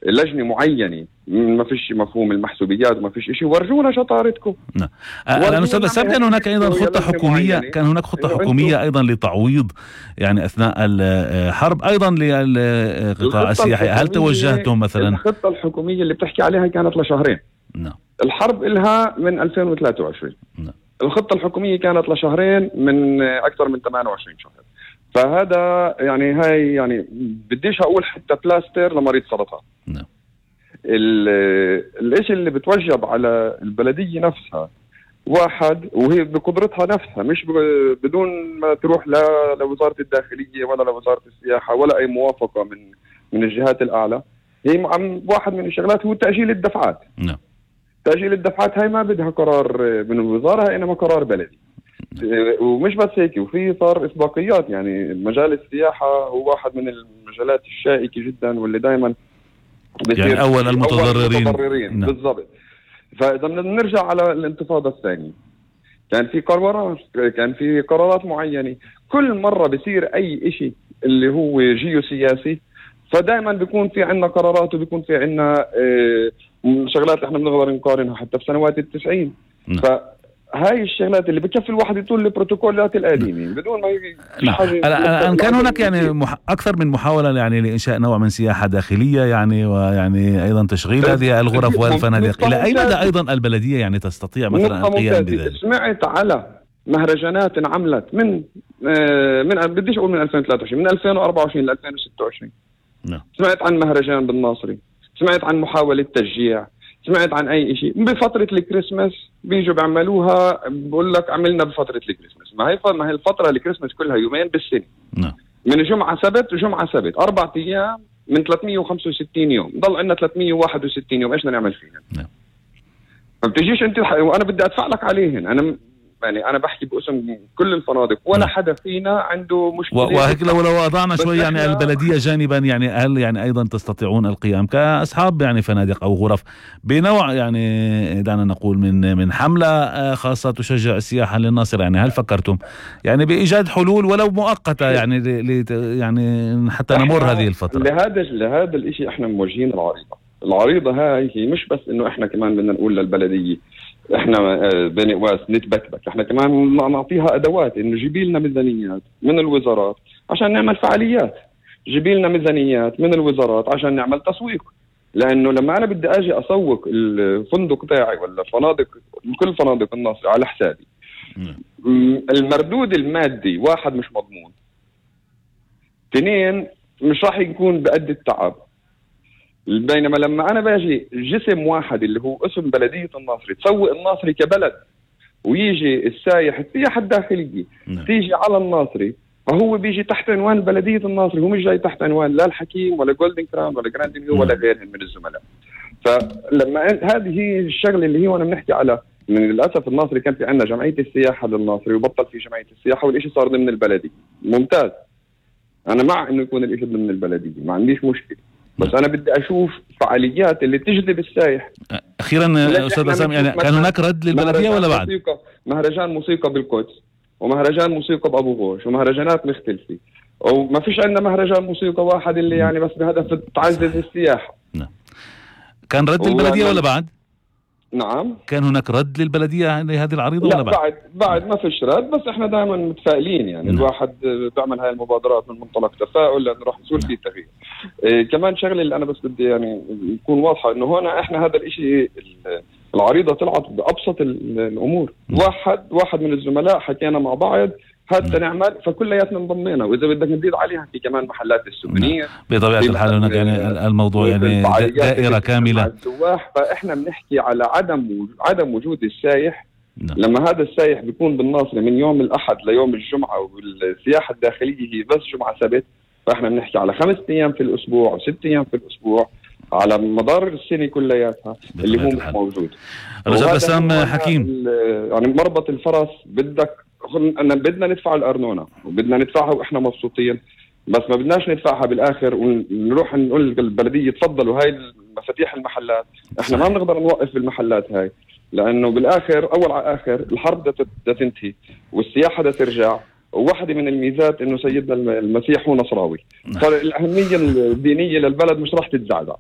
لجنة معينة، ما فيش مفهوم المحسوبيات وما فيش إشي، ورجونا شطارتكم. نعم. الآن أستاذ بسام، كان هناك أيضا خطة حكومية، كان هناك خطة حكومية أيضا لتعويض يعني أثناء الحرب أيضا للقطاع السياحي، هل توجهتم مثلا؟ الخطة الحكومية اللي بتحكي عليها كانت لشهرين. نعم. الحرب إلها من 2023. نعم. الخطة الحكومية كانت لشهرين من أكثر من 28 شهر. فهذا يعني هاي يعني بديش أقول حتى بلاستر لمريض سرطان. نعم. الاشي اللي بتوجب على البلدية نفسها واحد، وهي بقدرتها نفسها، مش بدون ما تروح لوزارة الداخلية ولا لوزارة السياحة ولا أي موافقة من الجهات الأعلى. هي واحد من الشغلات هو تأجيل الدفعات. نعم. تأجيل الدفعات هاي ما بدها قرار من الوزارة، إنما قرار بلدي. ومش بس هيك، وفي صار إسباقيات. يعني مجال السياحة هو واحد من المجالات الشائكة جدا، واللي دايما يعني أول المتضررين. نعم. بالضبط. فإذا بدنا نرجع على الانتفاضة الثانية، كان في قرارات معينة. كل مرة بصير أي إشي اللي هو جيوسياسي، فدائما بيكون في عنا قرارات، وبيكون في عنا شغلات احنا بنقدر نقارنها حتى بسنوات ال90. نعم. هاي الشغلات اللي بكفي الواحد يطول البروتوكولات القديمة بدون ما الآن كان هناك يعني أكثر من محاولة يعني لإنشاء نوع من سياحة داخلية يعني، ويعني أيضا تشغيل هذه الغرف والفنادق. إلى أي مدى أيضا البلدية يعني تستطيع مثلا القيام بذلك؟ سمعت على مهرجانات انعملت من بديش أقول من 2023، من 2024 ل 2026. نعم. سمعت عن مهرجان بالناصري، سمعت عن محاولة تشجيع، سمعت عن أي شيء. بفترة الكريسماس بيجوا بيعملوها، بقول لك عملنا بفترة الكريسماس. ما هي الفترة الكريسماس كلها يومين بالسنة. نعم. من جمعة سبت وجمعة سبت 4 أيام من 365 يوم، ضل عندنا 361 يوم. إيش بدنا نعمل فيها؟ نعم. ما بتجيش أنت وأنا بدي أدفع لك عليهن. أنا بحكي باسم كل الفنادق، ولا حدا فينا عنده مشكلة. وهيك لو وضعنا شوي يعني البلدية جانبا، يعني هل يعني أيضا تستطيعون القيام كأصحاب يعني فنادق أو غرف بنوع يعني دعنا نقول من حملة خاصة تشجع السياحة للناصر؟ يعني هل فكرتم يعني بإيجاد حلول ولو مؤقتة يعني يعني حتى نمر هذه الفترة؟ لهذا الإشي احنا موجهين العريضة هاي. هي مش بس إنه احنا كمان بدنا نقول للبلدية احنا بني قواس نتبكبك، احنا كمان نعطيها ادوات، انه جيبي لنا ميزانيات من الوزارات عشان نعمل فعاليات، جيبي لنا ميزانيات من الوزارات عشان نعمل تسويق. لانه لما انا بدي اجي اسوق الفندق تاعي ولا كل فنادق الناصر على حسابي، المردود المادي واحد مش مضمون، 2 مش راح يكون بقد التعب. بينما لما أنا باجي جسم واحد اللي هو اسم بلدية الناصري تسوق الناصري كبلد، ويجي السياحة الداخلية تيجي على الناصري، فهو بيجي تحت عنوان بلدية الناصري، هو مش جاي تحت عنوان لا الحكيم ولا جولدن كراون ولا جراند نيو ولا غيرهم من الزملاء. فلما هذه هي الشغلة اللي هي وانا بنحكي على، من للأسف الناصري كان في عندنا جمعية السياحة للناصري وبطل في جمعية السياحة، والإشي صار ضمن البلدية. ممتاز، أنا مع إنه يكون الإشي ضمن البلدية، ما عنديش مشكلة، بس أنا بدي أشوف فعاليات اللي تجذب السائح. أخيرا أستاذ بسام، يعني كان هناك رد للبلدية ولا بعد؟ مهرجان موسيقى بالقدس، ومهرجان موسيقى بأبو غوش، ومهرجانات مختلفة، وما فيش عندنا مهرجان موسيقى واحد اللي يعني بس بهدف تعزز السياحة. نعم. كان رد للبلدية ولا بعد؟ نعم. كان هناك رد للبلدية لهذه العريضة ولا بعد؟ بعد ما فيش رد، بس احنا دائما متفائلين. يعني الواحد بيعمل هاي المبادرات من منطلق تفاؤل، لأنه راح يصير فيه تغيير. كمان شغله اللي انا بس بدي يعني يكون واضحه، انه هنا احنا هذا الاشي العريضه طلعت بابسط الامور. واحد من الزملاء حكينا مع بعض حتى نعمل، فكلياتنا انضمينا، واذا بدك نزيد عليها في كمان محلات السوفينير بطبيعه الحال. هناك يعني الموضوع يعني دائره كامله السواح. فاحنا بنحكي على عدم وجود السايح. لما هذا السايح بيكون بالناصري من يوم الأحد ليوم الجمعة، والسياحة الداخلية هي بس جمعة سبت، فإحنا بنحكي على 5 أيام في الأسبوع و6 أيام في الأسبوع على مدار السنة كلياتها اللي هو مش موجود. الأستاذ بسام حكيم، يعني مربط الفرس، بدنا ندفع الأرنونة وبدنا ندفعها وإحنا مبسوطين، بس ما بدناش ندفعها بالآخر ونروح نقول للبلدية تفضلوا هاي مفاتيح المحلات. إحنا ما بنقدر نوقف المحلات هاي، لأنه بالآخر أول على آخر الحرب دا تنتهي والسياحة دا ترجع. وواحدة من الميزات إنه سيدنا المسيح هو نصراوي، فالأهمية الدينية للبلد مش راح تتزعزع.